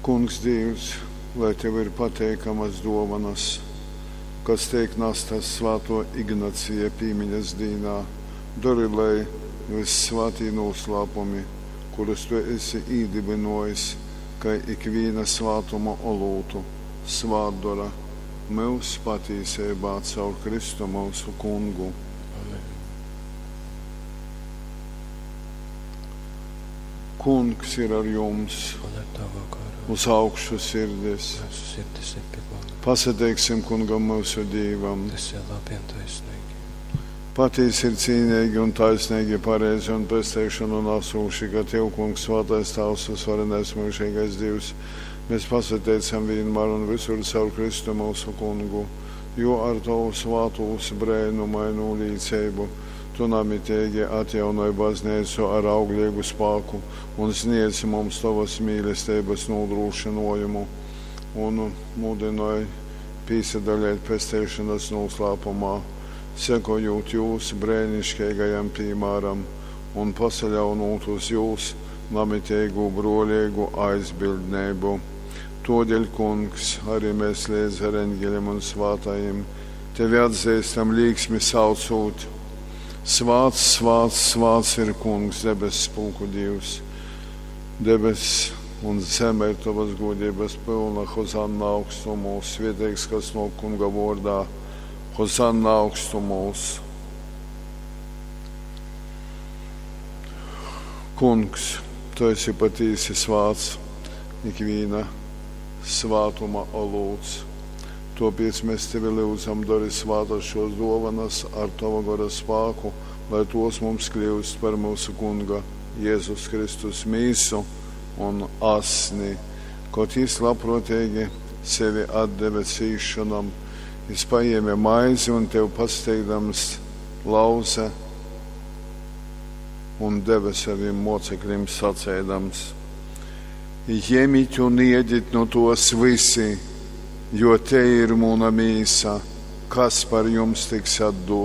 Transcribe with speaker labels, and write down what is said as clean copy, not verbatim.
Speaker 1: Kungs Dīvs, lai Tev ir pateikamas dōvonas, kas teik nastas svātō Ignacija pīmiņas dīnā, dori, lai vyssvātī nūslāpumi, kurus Tu esi īdybynōjis kai ikvīna svātuma olūtu, svātdora myus patīseibā caur Kristu myusu Kungu.
Speaker 2: Amen.
Speaker 1: Kungs ir ar jums.
Speaker 2: Un ar tavu garu.
Speaker 1: Uz augšu sirdis.
Speaker 2: Mūsu sirdis ir pie Kunga.
Speaker 1: Pasateiksim Kungam myusu Dīvam.
Speaker 2: Tas ir labi un taisnīgi.
Speaker 1: Patīsi ir cīnīgi un taisnīgi, pareizi un pesteišanu nesūši, ka Tev, Kungs, svātais Tāvs, uzvarenais mūžīgais Dievs, mēs pasateicam vienmēr un visur caur Kristu mūsu Kungu, jo ar Tavu svātūs brēnumainu līdzību Tu namitīgi atjaunoj baznīcu ar auglīgu spāku un sniedz mums Tavas mīlestības nodrošinājumu un mudinoj pīsadalīt pesteišanas noslēpumā, sekojot jūs brēnišķīgajam piemēram un pasaļaunot uz jūs namitīgu brolīgu aizbildnību. Todēļ, kungs, arī mēs līdz ar eņģeļiem un svātajiem tevi atzīstam līksmi saucot. Svāts, svāts, svāts ir kungs, debes pulku Dievs. Debes un zeme ir tavas godības pilna, Hozanna augstumos, svētīgs, kas no kunga vārdā, Hozanna augstumos. Kungs, tu esi patīsi svāts, ikvīna svātuma olūts. Tāpēc mēs tevi lūdzam, dari svātas šos dovanas ar tava gara spāku, lai tos mums kļūst par mūsu kunga Jēzus Kristus mīsu un asni, kaut jis labprātīgi sevi atdeva cīšanam, jis paņēma maizi un tev pasteigdams lauze un deva saviem mocekļiem sacēdams: Ņemiet un iediet no tos visi, jo te ir muna mīsa, kas par jums tiks atdota.